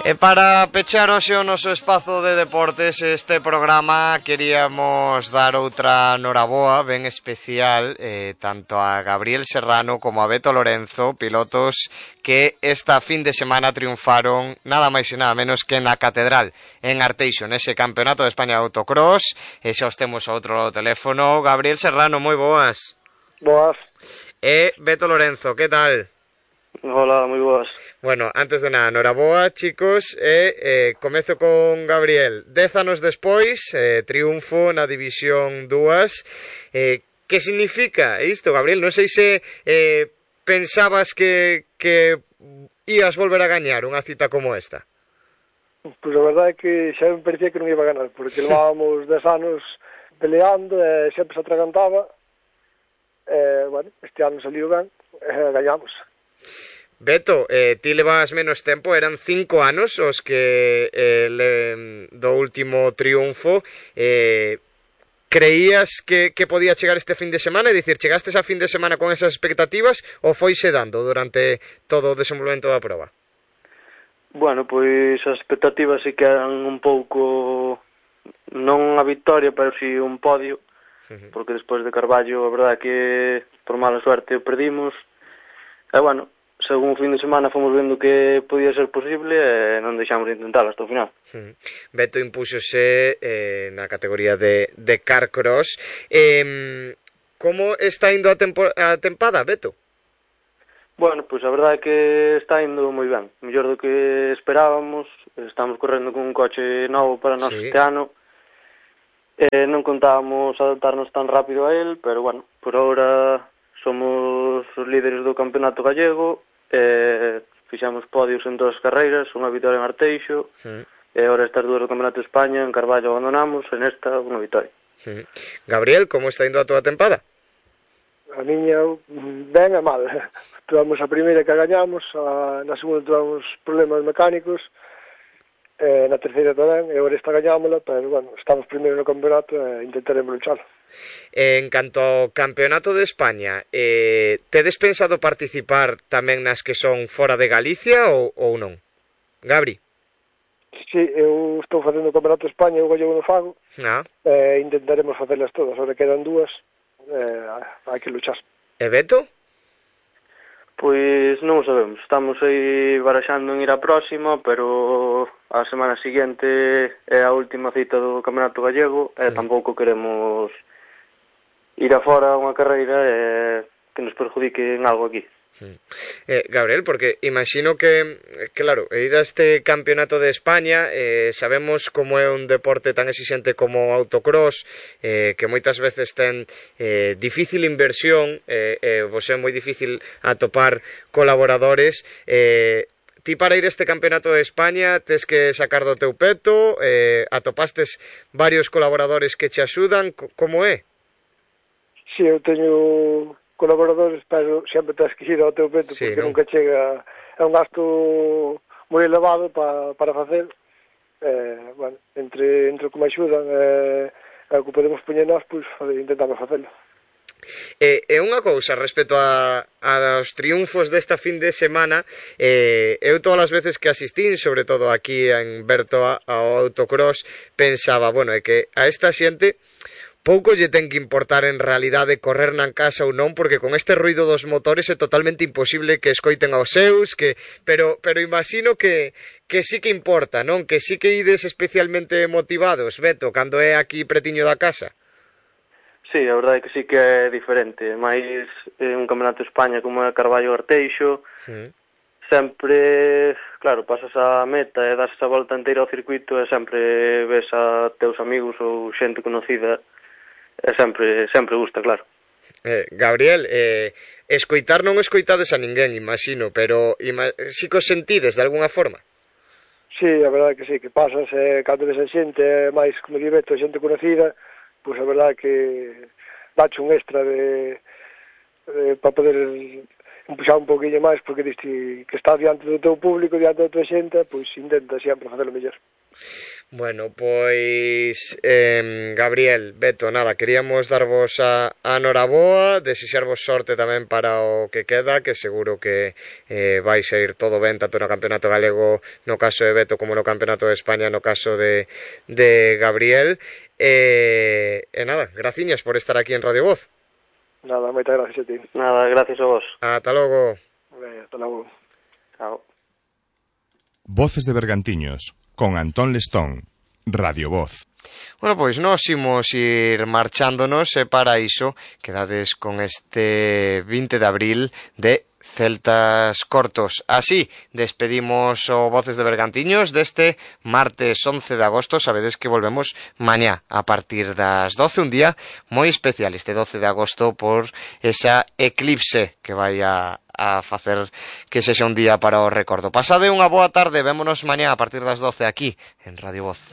E para pechar hoxe o noso espazo de deportes este programa queríamos dar outra noraboa ben especial tanto a Gabriel Serrano como a Beto Lorenzo, pilotos que esta fin de semana triunfaron nada máis e nada menos que na Catedral en Arteixo, nese Campeonato de España de Autocross. E xa os temos ao outro lado do teléfono. Gabriel Serrano, moi boas. Boas. E Beto Lorenzo, que tal? Hola, moi boas. Bueno, antes de nada, noraboa, chicos, comezo con Gabriel. 10 anos despois, triunfo na División 2. Que significa isto, Gabriel? Non sei se pensabas que ías volver a gañar unha cita como esta. Pois a verdade é que xa me parecía que non iba a ganar, porque levábamos 10 anos peleando e sempre se atragantaba. Bueno, este ano saliu ben, gañamos. Beto, ti levabas menos tempo, eran 5 anos os que do último triunfo. Creías que podía chegar este fin de semana? É dicir, chegastes a fin de semana con esas expectativas ou foise dando durante todo o desenvolvemento da proba? Bueno, pois as expectativas sí que eran un pouco, non a victoria, pero si un podio, porque despois de Carballo a verdade que por mala suerte o perdimos. E bueno, según o fin de semana fomos vendo que podía ser posible e non deixamos de intentar hasta o final. Beto impúxose na categoría de Carcross. Como está indo a tempada, Beto? Bueno, pois a verdade é que está indo moi ben, mellor do que esperábamos. Estamos correndo con un coche novo para nós este ano. Non contábamos adaptarnos tan rápido a él, pero bueno, por ahora somos os líderes do campeonato gallego. Fixamos podios en todas as carreiras, unha vitória en Arteixo, e agora estas dúas do Campeonato de España, en Carballo abandonamos, en esta unha vitória. Gabriel, como está indo a túa tempada? A miña ben e mal. Tuvamos a primeira que gañamos, na segunda tuvamos problemas mecánicos, na terceira tamén, e agora esta gañámola, pero bueno, estamos primeiro no campeonato e intentaremos luchar. En canto ao Campeonato de España, tedes pensado participar tamén nas que son fora de Galicia ou non? Gabri? Sí, eu estou facendo o Campeonato de España, eu gallego no fago, intentaremos facelas todas, agora quedan dúas, hai que luchar. E Beto? Pois non o sabemos, estamos aí baraxando en ir á próxima, pero a semana seguinte é a última cita do Campeonato Gallego e tampouco queremos ir afora a unha carreira que nos perjudique en algo aquí. Gabriel, porque imagino que, claro, ir a este Campeonato de España, sabemos como é un deporte tan exixente como autocross, que moitas veces ten difícil inversión, vos é moi difícil atopar colaboradores. Ti para ir a este Campeonato de España tes que sacar do teu peto, atopastes varios colaboradores que che axudan, como é? Si, eu teño colaboradores, pero sempre tens que ir ao teu peto, porque nunca chega, é un gasto moi elevado para facer. Bueno, entre o que me axudan e o que podemos poñer nós, pois intentamos facelo. E unha cousa respecto aos triunfos desta fin de semana, eu todas as veces que asistín, sobre todo aquí en Bertoa ao autocross, pensaba, bueno, é que a esta xente pouco lle ten que importar en realidade correr na casa ou non, porque con este ruido dos motores é totalmente imposible que escoiten aos seus, pero imagino que sí que importa, non? Que sí que ides especialmente motivados, Beto, cando é aquí pretiño da casa. Sí, a verdade é que sí que é diferente, máis un Campeonato de España como é Carballo Arteixo, sempre, claro, pasas a meta e das a volta inteira ao circuito e sempre ves a teus amigos ou xente conocida. Sempre gusta, claro. Gabriel, escoitar non escoitades a ninguén, imagino, pero si que os sentides de alguna forma? Sí, a verdade que sí, que pasas, cando ves a xente, máis como di Beto, xente conocida, pois a verdade que dache un extra para poder empuxar un poquinho máis, porque diste que estás diante do teu público, diante da tua xente, pois intenta sempre facelo mellor. Bueno, pois Gabriel, Beto, nada, queríamos darvos a noraboa, desexarvos sorte tamén para o que queda, que seguro que vais a ir todo ben tanto no Campeonato Galego no caso de Beto como no Campeonato de España no caso de Gabriel. E nada, graciñas por estar aquí en Radio Voz. Nada, moitas gracias a ti. Nada, gracias a vos. Ata logo. Hasta logo. Chao. Voces de Bergantiños, con Antón Lestón, Radio Voz. Bueno, pois nós imos ir marchándonos e para iso quedades con este 20 de abril de Celtas Cortos. Así despedimos o Voces de Bergantiños deste martes 11 de agosto. Sabedes que volvemos mañá a partir das 12, un día moi especial este 12 de agosto por esa eclipse que vai a facer que sexa un día para o recordo. Pasade unha boa tarde, vémonos mañá a partir das 12 aquí en Radio Voz.